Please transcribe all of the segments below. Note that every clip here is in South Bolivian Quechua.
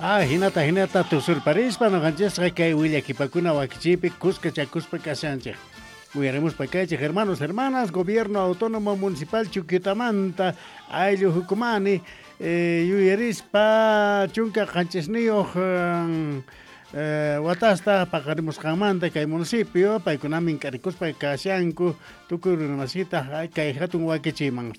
Ah, hinata hinata tusurparispa noqanchisqa kay willakipakuna wakichiypi kuskachakuspa kashanchik. Uyarimuspa kaychik hermanos, hermanas, Gobierno Autónomo Municipal Chuquiutamanta, ayllu hukumani, yuyarispa 17 watasta paqarimusqanmanta kay municipio, paykunamin k'arikuspa kashanku tukuy runamasita kay hatun wakichiyman.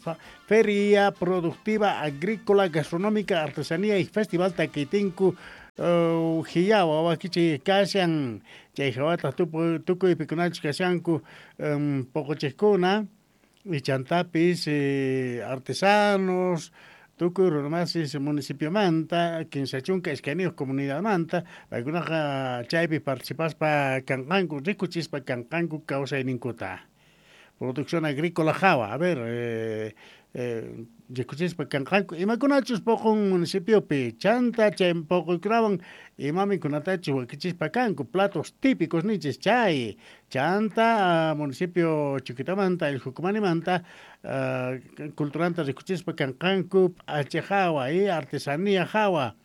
Feria Productiva Agrícola Gastronómica Artesanía y Festival Taquitinku Hiyawa wakichiy kashan, chay hawataq tukuy pikunachus kashanku poqochiqkuna y chantapis artesanos, tukuy runamasis municipiomanta, 32 comunidadmanta, paykunaqa chaypi participaspa kanqanku, rikuchispa kanqanku kawsayninkuta. Producción agrícola hawa, a ver, rikuchispa kanqanku, imakunachus poqon municipiopi, chanta chay poqoykunawan imamikunatachus wakichispa kanku, platos típicos ninchis chay, chanta municipio Chuquiutamanta, el Jucumanimanta, culturanta rikuchispa kanqanku, p'acha hawa y artesanía hawa,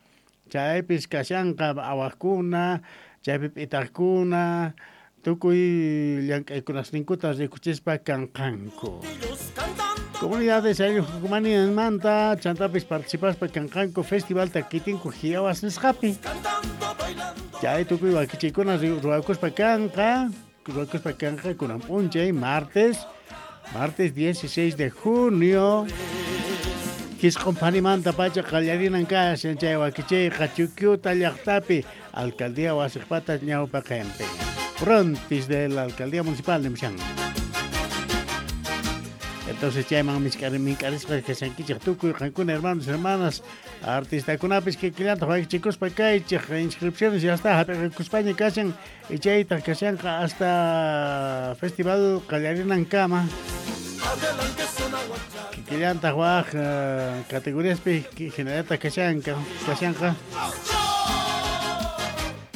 chaypis kashanqa awaqkuna, chaypi p'itaqkuna, tukuy llank'aykunasninkuta rikuchispa kanqanku. Comunidades ayllu Jucumanimanta, chantapis participaspa kanqanku Festival Taquitinku Hiyawas nisqapi. Chay tukuy wakichiykuna ruwakuspa kanqa, kunan p'unchay, martes 16 de junio. Kisq'unphanimanta pacha qallarinan kashan chay wakichiyqa Chuquiuta llaqtapi, alcaldía wasiqpata ñawpaqinpi. Frontis de la alcaldía municipal de Mixán. Entonces chayman mink'arisqa kashankichik tukuy qankuna hermanos, hermanas, artistakunapis kikillantaq wakichikuspa kaychik, inscripciones ya está hap'iqakuspaña kashan y chaytaq kashanqa hasta festival qallarinankama. Kikillantaq waj categoriaspi hinallataq kashanqa.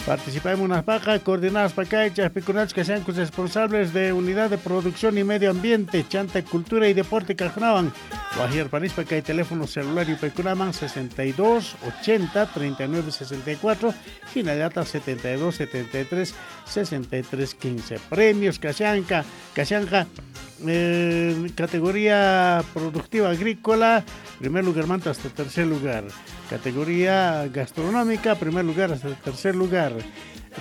Participamunaspaqa, coordinaspa kaychaq pikunachus kashanku responsables de Unidad de Producción y Medio Ambiente, Chanta Cultura y Deporte kajkunawan. Wajyarpanispa kay teléfono celular yupaykunaman 62 80 39 64, hinallata 72 73 63 15. Premios kashanqa, categoría productiva agrícola, primer lugar manta hasta tercer lugar. Categoría gastronómica, primer lugar hasta tercer lugar.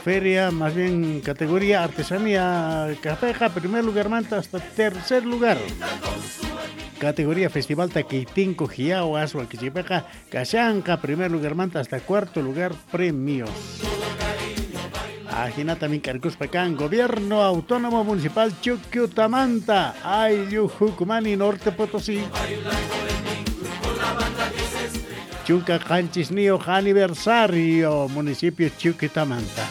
Feria, más bien categoría artesanía cafeja, primer lugar manta hasta tercer lugar. Categoría Festival Taquitinco Hiyawas, Huaquichipeja, Kashanka, primer lugar manta hasta cuarto lugar premios. Ajinata minkarkuspa kan, Gobierno Autónomo Municipal Chuquiutamanta, Ayllu Jucumani, Norte Potosí. 17 aniversario, municipio Chuquiutamanta.